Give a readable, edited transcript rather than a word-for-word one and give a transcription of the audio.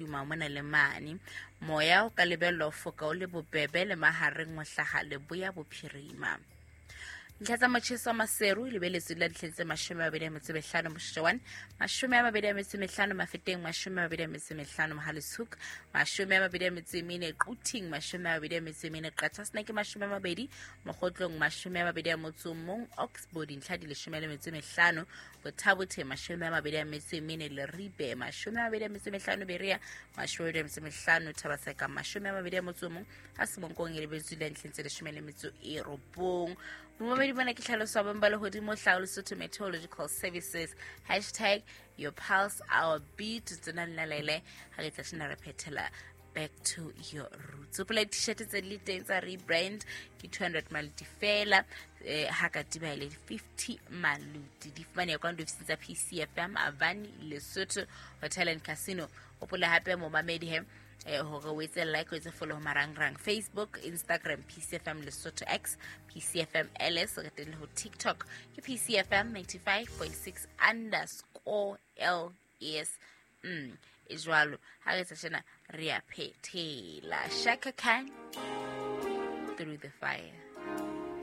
Duma mona le mane. Moya o ka lebellwa ho foka o le bobebe le mahareng ho hlaha leboya bophirima. Ntlha tsa motjheso wa Maseru lebeletswe la ditlheng tse 25 Mosheshe 1, 25 Mafeteng, 25 Mohale'shoek, 24 Quthing, 24 Qachaseneke, 20 Mokgotlong, 21 Oxbow, dintlha di 15 Bothabothe, 24 Leribe, 25 Berea, 25 Thabaseka, 21 ha Semonkong e lebetswe la ntlheng tse 19. Momamedi bona ke tlhaloso ya bong ba lehodimo hlao Lesotho Meteorological Services, hashtag your pulse our beat. Tsona le ha re tla tjena re phethela back to your roots. Hopola di-t-shirt tse di le teng tsa rebrand ke 200 maluti fela, ha katiba e le 50 maluti. Di fumaneha kwa diofising tsa PCFM Avani Lesotho Hotel and Casino. Hopola hape momamedi he hore o etse like, o etse follow ho marangrang Facebook, Instagram PCFM Lesotho, X PCFM LS, re teng le ho TikTok ke PCFM 95.6 underscore LS. E jwalo ha re etsa tjena re a phethela. Shaka Khan, Through the Fire.